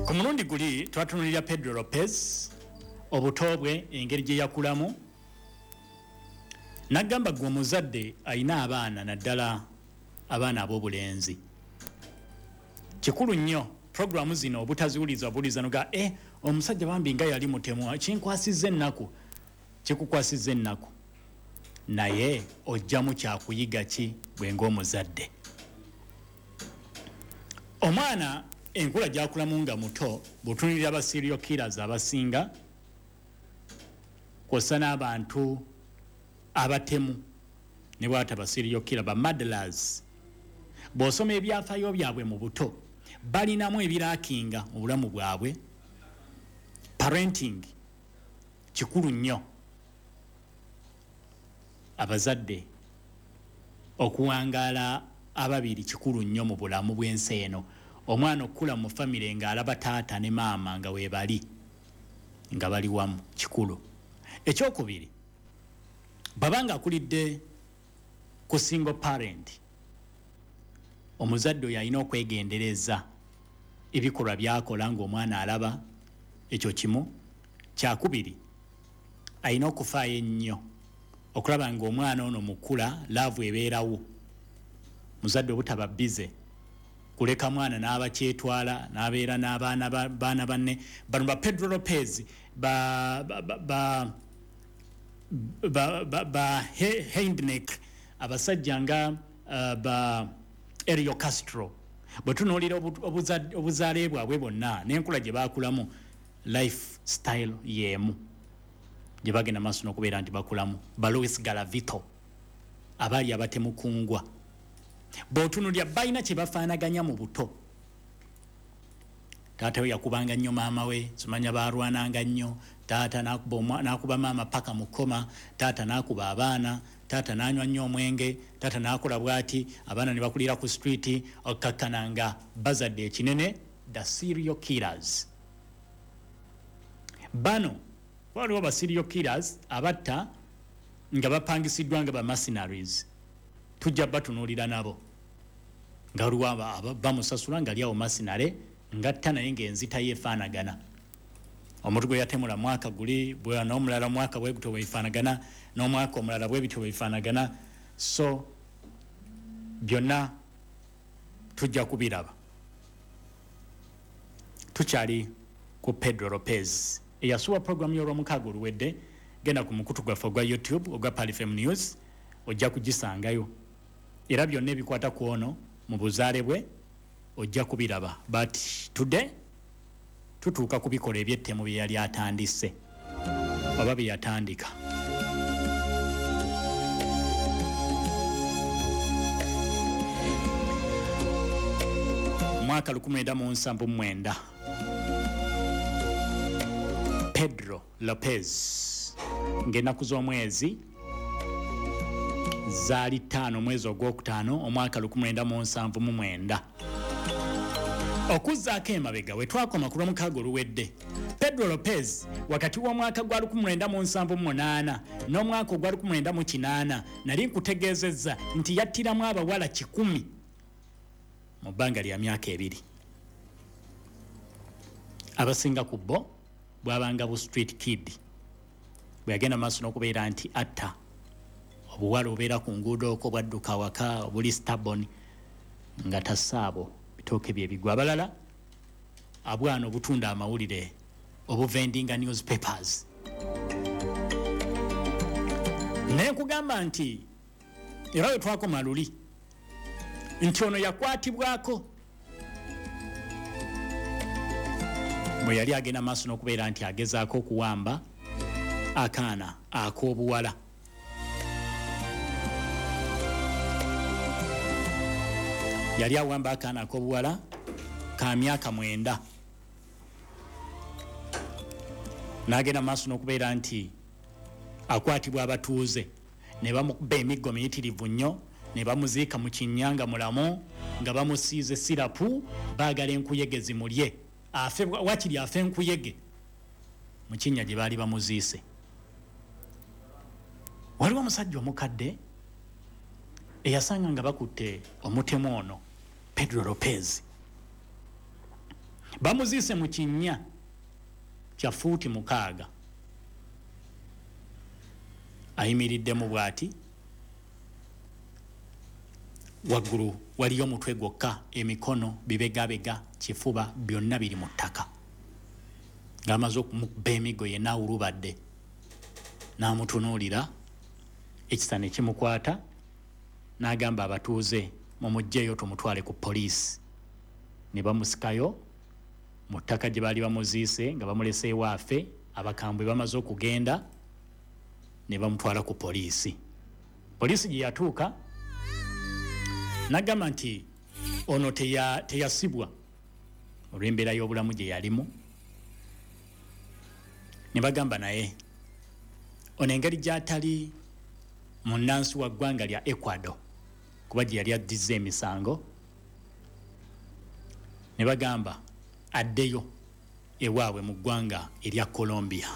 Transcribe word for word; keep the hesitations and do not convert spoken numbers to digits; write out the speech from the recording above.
Ku mulundi guli twatunulira Pedro Lopez, obuto bwe, engeri gye yakulamu. Nagamba gwe omuzadde alina abaana, naddala abaana ab'obulenzi, kikulu nnyo programu zino obutaziwuliza obuwuliza noga e omusajja bambi nga yali mutemu, kinkwasizza ennaku. Kikukwasizza ennaku, naye ojjamu kyakuyiga ki bwe ng'omuzadde? Omwana enkula gyakulamu nga muto, bw'otunuulira aba serial killers abasinga kw'ossa n'abantu abatemu ne bwata ba serial killer, ba murderers, bw'osoma ebyafaayo byabwe mu buto, balinamu ebirakinga mu bulamu bwabwe. Parenting kikulu nnyo, abazadde okuwangaala ababiri kikulu nnyo mu bulamu bw'ensi eno. Omwana okukula mu famire ng'alaba taata ne maama nga weebali, nga bali wamu, kikulu. Ekyokubiri, bw'aba nga akulidde ku single parent, omuzadde oyo alina okwegendereza ebikolwa by'akola ng'omwana alaba. Ekyo kimu. Kyakubiri, alina okufaayo ennyo okulaba ng'omwana ono mukula love ebeerawo. Muzadde obutaba busy kuleka mwana n'abakyetwala n'abeera n'abaana baana banne. Bano ba Pedro Lopez, ba ba ba ba ba, ba Heidnik, abasajja nga uh, ba Elio Castro, bwe tunuulira obuzaale bwabwe bonna n'enkula gye baakulamu, life style y'emu gye bagenda maaso n'okubeera nti bakulamu. Ba Luis Garavito abaali abatemukungwa, bw'otunuulira balina kye bafaanaganya mu buto. Taata we yakubanga nnyo maama we, simanya baalwananga nnyo, taata n'akuba maama paka mu kkoma, taata n'akuba abaana, taata n'anywa nnyo omwenge, taata n'akola bw'ati, abaana ne bakulira ku street, okkakkana nga bazadde ekinene, the serial killers. Bano waliwo ba serial killers abatta nga bapangisiddwa nga ba mercenaries, tujja batunuulira nabo, nga waliwo bamusasula nga ali awo mercenary ngatta, naye ng'enzita ye efaanagana. Omuntu gwe yatemula mwaka guli n'omulala mwaka bwe gutyo bwebifaanagana, n'omwaka omulala bwe bityo bwebifaanagana. So byonna tujja kubiraba. Tukyali ku Pedro Lopez eyasuwa programu y'olwomukaaga oluwedde. Genda ku mukutu gwaffe ogwa YouTube ogwa Pearl F M News, ojja kugisangayo, era byonna ebikwata ku ono mu buzaale bwe ojja kubiraba. But today tutuuka ku bikolwa eby'ettemu bye yali atandise oba bye yatandika. Mwaka lukumi mwenda mu nsanvu mu mwenda, Pedro Lopez, ng'ennaku z'omwezi zaali ttaano omwezi ogwokutaano omwaka lukumi mwenda mu nsanvu mu mwenda. Okuzzaako emabega we twakoma ku lwomukaaga oluwedde, Pedro Lopez wakati w'omwaka gwa lukumi mwenda mu nsanvu mu munaana n'omwaka ogwa lukumi mwenda mu kinaana, nali nkutegeezezza nti yattiramu abawala kikumi mu bbanga lya myaka ebiri. Abasinga ku bo bwabanga bu street kid, bwe yagenda maaso n'okubeera nti atta obuwala obubeera ku nguudo okwo bwadduka awaka obuli stubborn nga tassaabo bitooke bye bigwa. Abalala abwana obutunda amawulire, obuvendinga newspapers. Naye nkugamba nti era we twakoma luli nti ono yakwatibwako bwe yali agenda maaso n'okubeera nti agezaako okuwamba akaana ak'obuwala. Yali awamba akaana ak'obuwala ka myaka mwenda, n'agenda maaso n'okubeera nti akwatibwa abatuuze ne bamukuba emiggo miyitirivu nnyo, ne bamuziika mu kinnya nga mulamu, nga bamusiize sirapu, baagala enkuyege zimulye, afe wakiri afe enkuyege mu kinnya gye baali bamuziise. Waliwo omusajja omukadde eyasanga nga bakutte omutemu ono Pedro Lopez. Bamuziise mu kinnya kya fuuti mukaaga, ayimiriddemu bw'ati, waggulu waliyo omutwe gwokka, emikono, bibegabega, kifuba, byonna biri mu ttaka. Ng'amaze okumukuba emiggo yenna awulubadde, n'amutunuulira, ekisa ne kimukwata, n'agamba abatuuze, "Mumuggyeyo tumutwale ku poliisi." Ne bamusikayo mu ttaka gye baali bamuziise nga bamuleseewo afe, abakambwe bamaze okugenda, ne bamutwala ku poliisi. Poliisi gye yatuuka n'agamba nti ono teya- teyasibwa olw'embeera y'obulamu gye yalimu. Ne bagamba naye ono engeri gy'atali munnansi wa ggwanga lya Ecuador, kuba gye yali addizza emisango, ne bagamba addeyo ewaabwe mu ggwanga erya Colombia.